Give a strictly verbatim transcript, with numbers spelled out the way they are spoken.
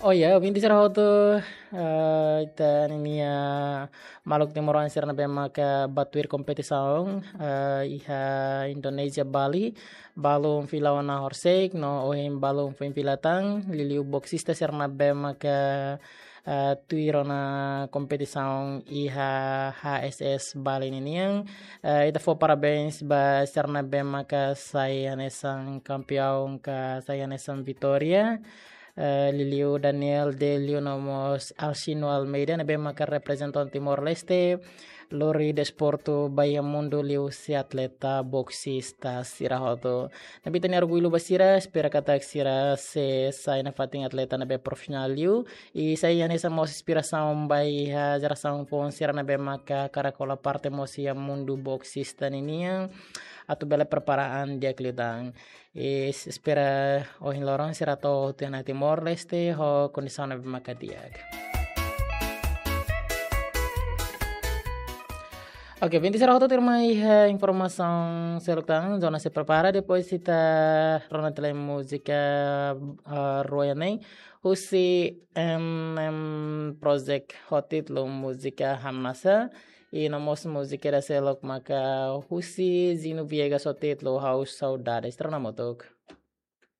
Oh ya, ouvinte sira hotu, eh, ita ninia maluk timoroan sira ne'ebé maka bá tuir kompetisaun, eh, iha Indonézia, Bali, balun fila ona horisehik, no ohin balun foin fila tan, liuliu boksista sira ne'ebé maka, eh, tuir ona kompetisaun iha H S S Bali ninian. Eh, ita fó parabéns ba sira ne'ebé maka sai hanesan kampiaun ka sai hanesan vitória. Eh, liuliu Daniel Delio no mós Alcino Almeida ne'ebé maka reprezenta Timor-Leste, lori desportu ba iha mundu liuhusi atleta boksista sira hotu. Ne'ebé ita-nia orgullu ba sira, espera katak sira sei sai nafatin atleta ne'ebé profisionál liu, i sai hanesan mós inspirasaun ba iha jerasaun foun sira ne'ebé maka hakarak hola parte mós iha mundu boksista ninian, atu bele prepara an di'ak liután. I s-, espera ohin loron sira atu hotu iha Timor-Leste ho kondisaun ne'ebé maka di'ak. Oke, ouvinte sira hotu, tuirmai, eh, informasaun seluk tan, Jonas sei prepara, depois ita rona tiha lai múzika, eh, rua ida-ne'e, husi M M Project ho títulu múzika Hamnasa, i no mós múzika ida seluk maka husi Zino Viegas ho títulu Ha'u Saudades. Ita rona hamutuk.